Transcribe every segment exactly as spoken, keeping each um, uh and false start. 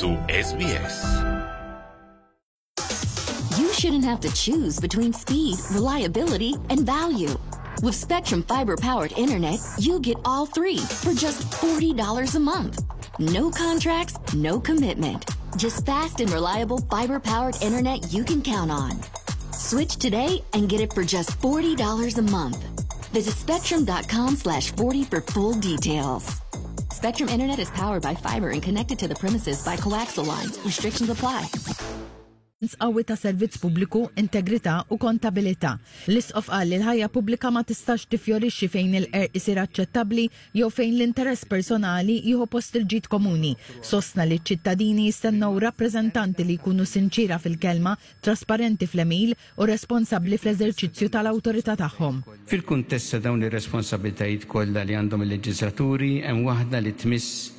Su S B S. You shouldn't have to choose between speed, reliability, and value. With Spectrum Fiber powered internet, you get all three for just forty dollars a month. No contracts, no commitment. Just fast and reliable fiber powered internet you can count on. Switch today and get it for just forty dollars a month. Visit spectrum dot com slash forty for full details. Spectrum Internet is powered by fiber and connected to the premises by coaxial lines. Restrictions apply. Qawwi ta' servizz pubbliku, integrità u kontabilità. L-Isqof qal li l-ħajja pubblika ma tistax tifjorixxi fejn il-qerq isir aċċettabbli jew fejn l-interess personali jieħu post il-ġid komuni. Sostna li ċ-ċittadini jistennew rappreżentanti li jkunu sinċira fil-kelma, trasparenti fl-għemil u responsabbli fl-eżerċizzju tal-awtorità tagħhom. Fil-kuntest ta' dawn ir-responsabbiltajiet kollha li għandhom il-leġislaturi, hemm waħda li tmiss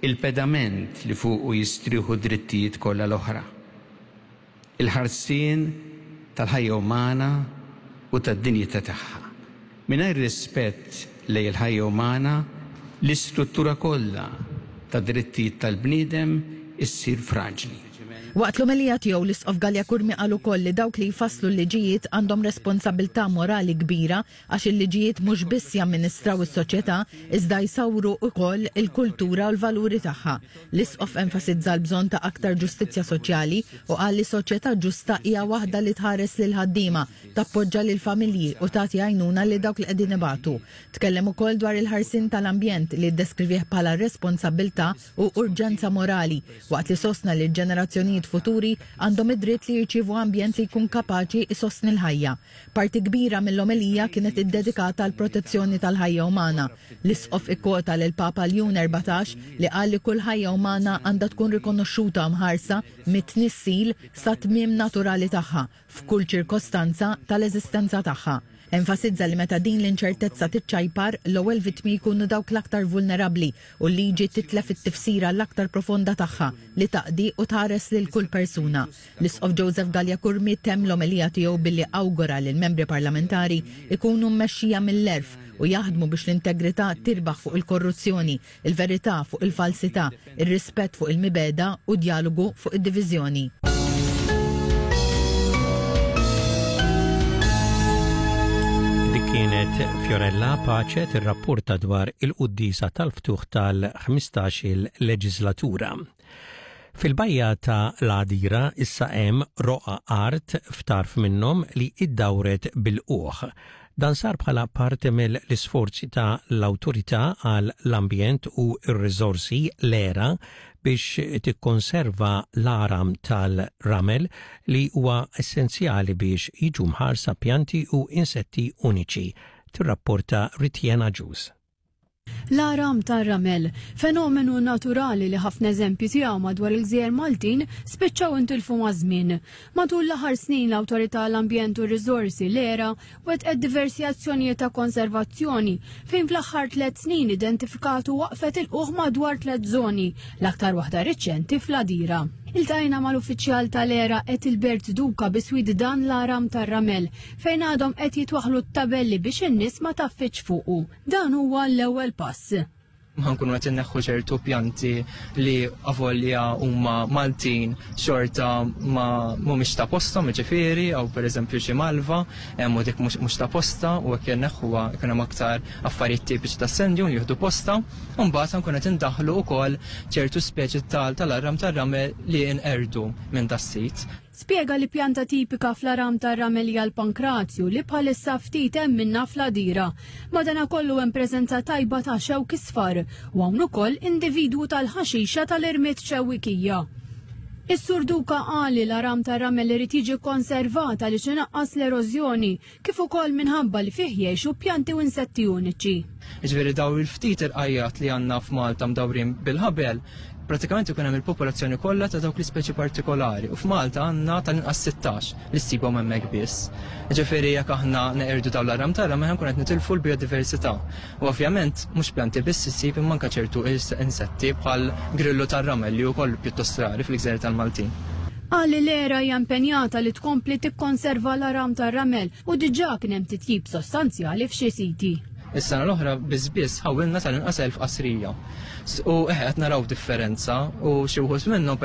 il-pedament li fuqu jistrieħu drittijiet kollha l-oħra. Il-ħarsien tal-ħajja umana u tad-dinjità tagħha. Mingħajr rispett lejn il-ħajja umana, l-istruttura kollha ta' drittijiet tal-bniedem issir fraġli. Waqt l-omelija tiegħu, l-Isqof Galea Curmi qal ukoll li dawk li jfasslu l-liġijiet għandhom responsabilità morali kbira, għax il-liġijiet mhux biss jamministraw is-soċjetà, iżda jsawru wkoll il-kultura u l-valuri tagħha. L-Isqof enfasizza l-bżonn ta' aktar ġustizzja soċjali u qal li soċjetà ġusta hija waħda li tħares lil ħaddiema, tappoġġa lil familji u tagħti għajnuna lil dawk li qegħdin ibatu. Tkellem ukoll dwar il-ħarsien tal-ambjent, li ddeskrivih bħala responsabilità u urġenza morali, waqt li sostna li l-ġenerazzjonijiet futuri għandhom id-dritt li jirċievu ambjent li jkun kapaċi isostni l-ħajja. Parti kbira mill-omelija kienet iddedikata għal protezzjoni tal-ħajja umana. L-Isqof ikkwota lil Papa Ljun erbatax, li qal li kull ħajja umana għandha tkun rikonoxxuta, mħarsa mit-tnissil sa tmiem naturali tagħha, f'kull ċirkostanza tal-eżistenza tagħha. Enfasizza li meta din l-inċertezza tiċċajpar, l-ewwel vittmi jkunu dawk l-aktar vulnerabbli u l-liġi titlef it-tifsira l-aktar profonda tagħha, li taqdi u tħares lil kull persuna. L-Isqof Joseph Galea Curmi temm l-omelija tiegħu billi awgura li l-membri parlamentari ikunu mmexxija mill-għerf u jaħdmu biex l-integrità tirbaħ fuq il-korruzzjoni, il-verità fuq il-falsità, il-rispett fuq il-mibegħda u djalogu fuq id-diviżjoni. Dik kienet Fiorella Pace tirrapporta dwar il-quddisa tal-ftuħ tal-ħmistax-il leġislatura. Fil-bajja ta' l-Għadira issa hemm roqa art f'tarf minnhom li iddawret bil-uħ. Dan sar bħala parti mill-isforzi ta' l-Awtorità għal l-Ambjent u r-Riżorsi, l-E R A, biex tikkonserva l-għaram tal-ramel, li huwa essenzjali biex jiġu mħarsa pjanti u insetti uniċi. Tirrapporta Ritiena Ġus. L-għaram tar-ramel, fenomenu naturali li ħafna eżempji tiegħu madwar il-gżejjer Maltin spiċċaw intilfu maż-żmien. Matul l-aħħar snin, l-Awtorità l-Ambjent u r-Riżorsi, l-E R A, wettqet diversi azzjonijiet ta' konservazzjoni, fejn fl-aħħar tliet snin identifikat u waqfet il-qugħ madwar tliet żoni, l-aktar waħda riċenti fl-Għadira. Iltqajna mal-uffiċjal tal-E R A Etilbert Duka biswit dan l-għaram tar-ramel, fejn għadhom qed jitwaħlu t-tabelli biex in-nies ma tgħaffiġx fuqu. Dan huwa l-ewwel pass. Ħa nkunu qed inneħħu ċertu pjanti li avolja huma Maltin xorta ma mhumiex ta' posthom, jiġifieri, jew pereżempju xi malva, hemm u dik mhux ta' posta, u hekk inneħħuha jkun hemm aktar affarijiet tipiċi ta' sand dune jieħdu posta, u mbagħad ħa nkunu qed indaħlu wkoll ċertu speċi tal-għaram tar-ramel li inqerdu minn das-sit. Spjega li pjanta tipika fl-għaram tar-ramel hija l-pankrazju, li bħalissa ftit hemm minna fl-Għadira. Madana kollu hemm preżenza tajba ta' xewk isfar u hawn ukoll individwu tal-ħaxixa tal-irmied ċewwikija. Is-Sur Duka qal li l-għaram tar-ramel irid jiġi konservat għaliex inaqqas l-erożjoni, kif ukoll minħabba li fih jgħixu pjanti u insetti uniċi. Jiġifieri daw il-ftit irqajjat li għandna f'Malta mdawrin bil-ħabel, pratikament ikun hemm il-popolazzjoni kollha ta' dawk l-ispeċi partikolari u f'Malta għandna tal-inqas sittax li ssibhom hemmhekk biss. Ġifieri jekk aħna neqirdu dawn l-għaram tar-ramel, nkun qed nitilfu l-biodiversità. U ovvjament mhux pjanti biss issib, imma anke ċertu insetti bħal grillu tar-ramel li wkoll pjuttost rari fil-gżejjer tal-Maltin. Qal li l-E R A hija impenjata li tkompli tikkonserva l-għaram tar-ramel u diġà kien hemm titjib sostanzjali f'xi siti. Is-sena l-oħra biss biss ħawilna tal-inqas elf qasrija. U eħe, qed naraw differenza u xi wħud minnhom